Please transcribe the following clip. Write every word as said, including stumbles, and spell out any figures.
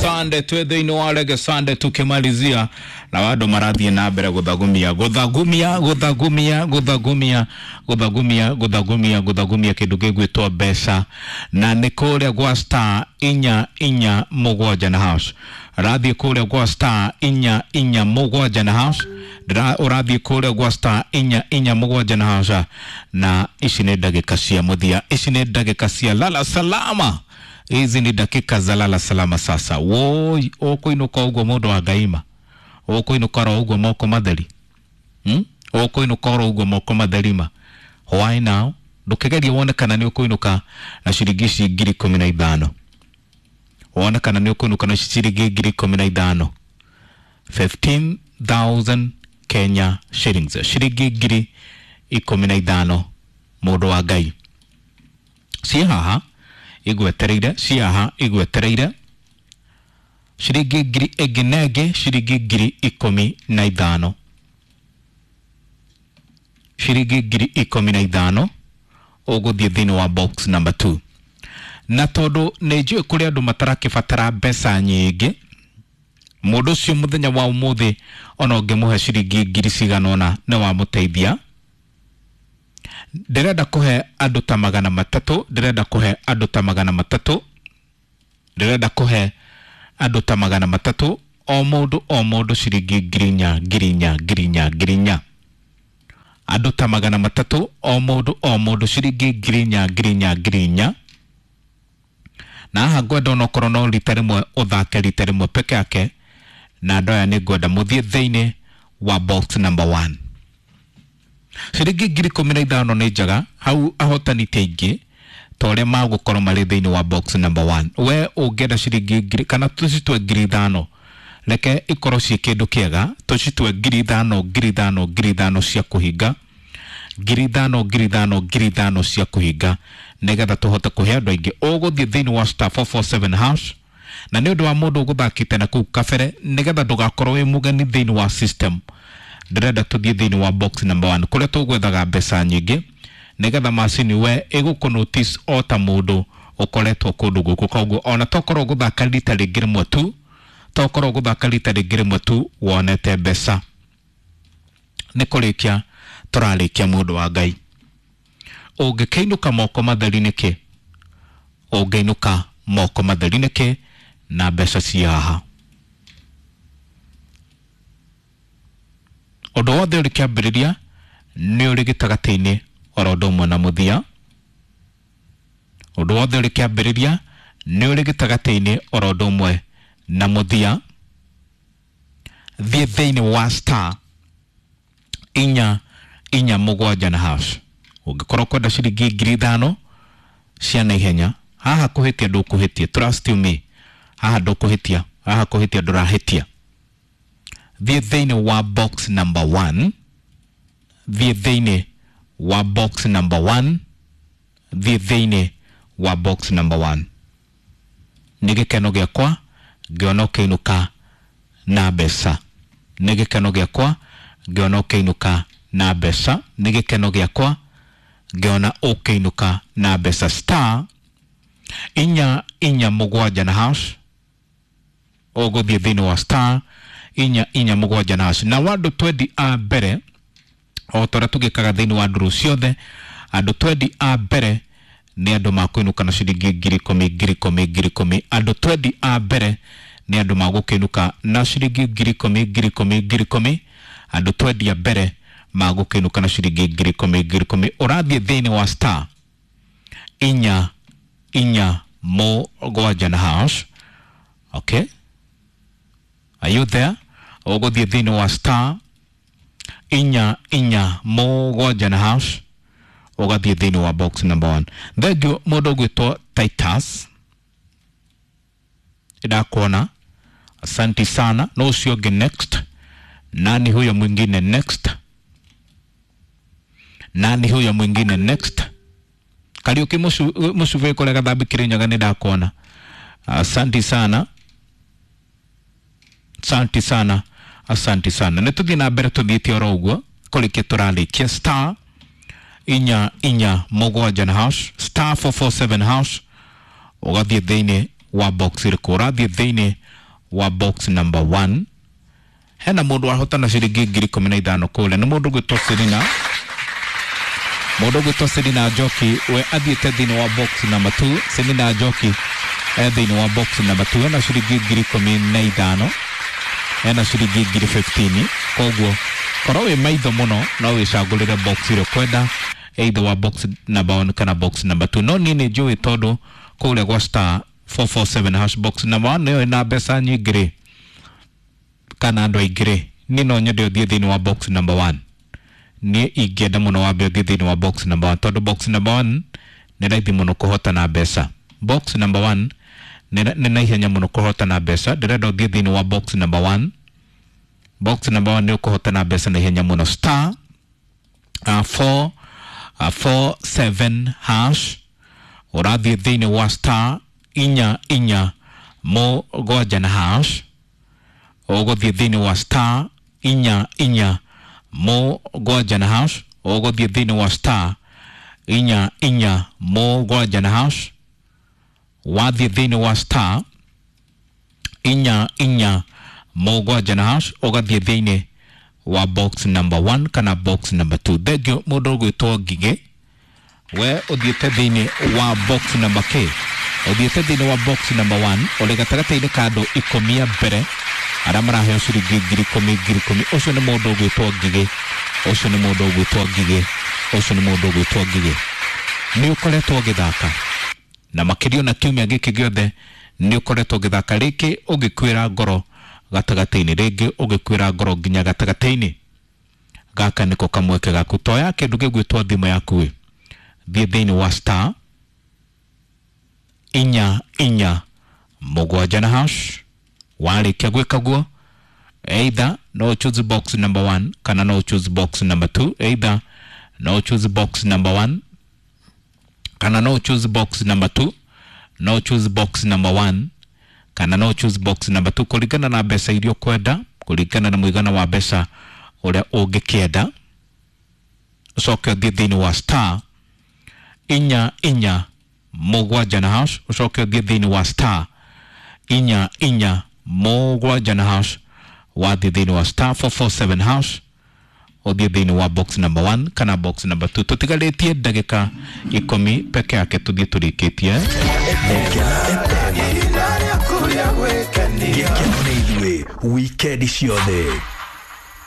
Sunday twĩ thĩinĩ wa Reggae Sunday tukĩmalizia na andũ marathiĩ na mbere gũthagumia gũthagumia gũthagumia gũthagumia gũthagumia gũthagumia gũthagumia kĩndũ gĩgwĩtwo mbeca, na nĩ kũrĩa gwa star inya inya mũgwanja na hash. Rathiĩ kũrĩa gwa star inya inya mũgwanja na hash, ũrathiĩ kũrĩa gwa star inya inya mũgwanja na hash. Na ici nĩ ndagĩka cia mũthia, ici nĩ ndagĩka cia lala salama, hizi ni dakika za lala salama. Sasa woi, ũkũinũka ũguo mũndũ wa Ngaima, ũkũinũka oro ũguo moko matheri, hmm? Ũkũinũka oro ũguo moko matheri ma why now? Ndũkĩgerie wone kana nĩ ũkũinũka na ciringi ici ngiri ikũmi na ithano, wone kana nĩ ũkũinũka na ciringi ngiri ikũmi na ithano, fifteen thousand Kenya shillings, ciringi ngiri ikũmi na ithano mũndũ wa Ngai. Ciĩ haha igwetereire, ciĩ haha igwetereire ciringi ngiri ĩngĩ na ĩngĩ, ciringi ngiri ikũmi na ithano, ciringi ngiri ikũmi na ithano ũgũthiĩ thĩinĩ wa box number two. Na tondũ nĩ njũĩ kũrĩ andũ matarakĩbatara mbeca nyingĩ, mũndũ ũcio mũthenya wa ũmũthĩ ona ũngĩmũhe ciringi ngiri cigana ũna nĩ wamũteithia. Ndĩrenda kũhe andũ ta magana matatũ, ndĩrenda kũhe andũ ta magana matatũ, ndĩrenda kũhe andũ ta magana matatũ, o mũndũ o mũndũ ciringi ngiri inya, ngiri inya, ngiri inya, ngiri inya. Andũ ta magana matatũ, o mũndũ o mũndũ ciringi ngiri inya, ngiri inya, ngiri inya. Na haha ngwenda onokorwo no rita rĩmwe ũthake rita rĩmwe peke yake, na andũ aya nĩ ngwenda mũthiĩ thĩinĩ wa box number one. Ciringi ngiri ikũmi na ithano nĩ njega, hau ahotani ti aingĩ ta ũrĩa magũkorwo marĩ thĩinĩ wa box number one. We ũngĩenda ciringi ngiri kana tũcitue ngiri ithano, reke ikorwo ciĩ kĩndũ kĩega, tũcitue ngiri ithano, ngiri ithano, ngiri ithano cia kũhinga, ngiri ithano, ngiri ithano, ngiri ithano cia kũhinga, nĩgetha tũhote kũhe andũ aingĩ. Ũgũthiĩ thĩinĩ wa star four four seven hash, na nĩ ũndũ wa mũndũ ũgũthakĩte na kũu kabere, nĩgetha ndũgakorwo wĩ mũgeni thĩinĩ wa system. Ndĩrenda tũthiĩ thĩinĩ wa box number one kũrĩa tũgwethaga mbeca nyingĩ, nĩgetha macini we ĩgũkũ notice o ta mũndũ ũkoretwo kũndũ gũkũ. Koguo ona tokorwo gũthaka rita rĩngĩ rĩmwe tu, tokorwo gũthaka rita rĩngĩ rĩmwe tu wonete mbeca. Nĩ kũrĩkia tũrarĩkia mũndũ wa Ngai. Ũngĩkĩinũka moko matheri nĩkĩ? Ũngĩinũka moko matheri nĩkĩ na mbeca ci haha? Ũndũ wothe ũrĩ kĩambĩrĩria nĩ ũrĩ gĩtagatĩ-inĩ oro ũndũ ũmwe na mũthia. Ũndũ wothe ũrĩ kĩambĩrĩria nĩ ũrĩ gĩtagatĩ-inĩ oro ũndũ ũmwe na mũthia. Thiĩ thĩinĩ wa star inya inya mũgwanja na hash. Ũngĩkorwo kwenda ciringi ngiri ithano cia naihenya, haha kũhĩtia ndũkũhĩtia, trust you me, haha ndũkũhĩtia, haha kũhĩtia ndũrahĩtia. Thiĩ thĩinĩ wa box number one, thiĩ thĩinĩ wa box number one, thiĩ thĩinĩ wa box number one. Nĩ gĩkeno gĩakwa ngĩona ũkĩinũka na mbeca, nĩ gĩkeno gĩakwa ngĩona ũkĩinũka na mbeca, nĩ gĩkeno gĩakwa ngĩona ũkĩinũka na mbeca. Star inya inya mũgwanja na hash, ũgũthiĩ thĩinĩ wa star inya inya mũgwanja na hash. Na andũ twendi a mbere, o ta ũrĩa tũgĩkaga thĩinĩ wa ndũrũ ciothe, andũ twendi a mbere nĩ andũ makũinũka na ciringi ngiri ikũmi, ngiri ikũmi, ngiri ikũmi. Andũ twendi a mbere nĩ andũ magũkĩinũka na ciringi ngiri ikũmi, ngiri ikũmi, ngiri ikũmi. Andũ twendi a mbere magũkĩinũka na ciringi ngiri ikũmi, ngiri ikũmi. Ũrathiĩ thĩinĩ wa star inya inya mũgwanja na hash. Okay, are you there? Ũgũthiĩ thĩinĩ wa star inya inya mũgwanja na hash, ũgathiĩ thĩinĩ wa box number one. Thank you mũndũ ũgwĩtwo Titus, ndakuona, asanti sana. No ũcio ũngĩ next, nani huyo mwingine next? Nani huyo mwingine next? Kariuki Mucuve kũrĩa Gathambi Kĩrĩnyaga nĩ ndakuona, asanti sana, asanti sana, asanti sana. Nĩ tũthiĩ na mbere tũthiĩte oro ũguo kũrĩkia tũrarĩkia. Star inya inya mũgwanja na hash, star four four seven hash, ũgathiĩ thĩinĩ wa box ĩrĩkũ? Ũrathiĩ thĩinĩ wa box number one. Hena mũndũ wahotana ciringi ngiri ikũmi na ithano kũrĩa, nĩ mũndũ ũgwĩtwo Selina, mũndũ ũgwĩtwo Selina Njoki. We athiĩte thĩinĩ wa box number two. Selina Njoki e thĩinĩ wa box number two, ena ciringi ngiri ikũmi na ithano, ena ciringi ngiri fifteen. Koguo korwo wĩ maitho mũno no wĩcagũrĩre box ĩrĩa ũkwenda, either wa box number one kana box number two. No niĩ nĩ njũĩ tondũ kũrĩa gwa star four four seven hash box number one nĩyo ĩna mbeca nyingĩ rĩ, kana andũ aingĩ rĩ, niĩ no nyende ũthiĩ thĩinĩ wa box number one. Niĩ ingĩenda mũno wambe ũthiĩ thĩinĩ wa box number one, tondũ box number one nĩ raithi mũno kũhotana mbeca. Box number one nĩ na ihenya mũno kũhotana mbeca. Ndĩrenda ũthiĩ thĩinĩ wa box number one. Box number one nĩ ũkũhotana mbeca na ihenya mũno. Star uh, four uh, four seven hash, ũrathiĩ thĩinĩ wa star inya inya mũgwanja na hash, ũgũthiĩ thĩinĩ wa star inya inya mũgwanja na hash, ũgũthiĩ thĩinĩ wa star inya inya mũgwanja na hash. Wathiĩ thĩinĩ wa star inya inya mũgwanja na hash, ũgathiĩ thĩinĩ wa box number one kana box number two. Thengiũ mũndũ ũgwĩtwo Ngigĩ, we ũthiĩte thĩinĩ wa box number K, ũthiĩte thĩinĩ wa box number one, ũrĩ gatagatĩ-inĩ ka andũ ikũmi a mbere arĩa maraheo ciringi ngiri ikũmi ngiri ikũmi. Ũcio nĩ mũndũ ũgwĩtwo Ngigĩ, ũcio nĩ mũndũ ũgwĩtwo Ngigĩ, ũcio nĩ mũndũ ũgwĩtwo Ngigĩ. Nĩ ũkoretwo ũgĩthaka na makĩria na kiumia gĩkĩ gĩothe nĩ ũkoretwo ũgĩthaka, rĩngĩ ũgĩkwĩra ngoro gatagatĩ-inĩ, rĩngĩ ũgĩkwĩra ngoro nginya gatagatĩ-inĩ. Gaka nĩko kamweke gaku. Toya kĩndũ gĩgwĩtwo thimũ yaku ĩ, thiĩ thĩinĩ wa star inya inya mũgwanja na hash. Warĩkia gwĩka guo, either no choose box number one kana no choose box number two, either no choose box number one kana no choose box number two, no choose box number one kana no choose box number two, kũringana na mbeca iria ũkwenda, kũringana na mũigana wa mbeca ũrĩa ũngĩkĩenda. Ũcoke ũthiĩ thĩinĩ wa star inya inya mũgwanja na hash, ũcoke ũthiĩ thĩinĩ wa star inya inya mũgwanja na hash. Wathiĩ thĩinĩ wa star four four seven hash, ũthiĩ thĩinĩ wa box number one kana box number two. Tũtigarĩtie ndagĩka ikũmi peke yake tũthiĩ tũrĩkĩtie. Gĩkeno nĩ ithuĩ wikendi ciothe.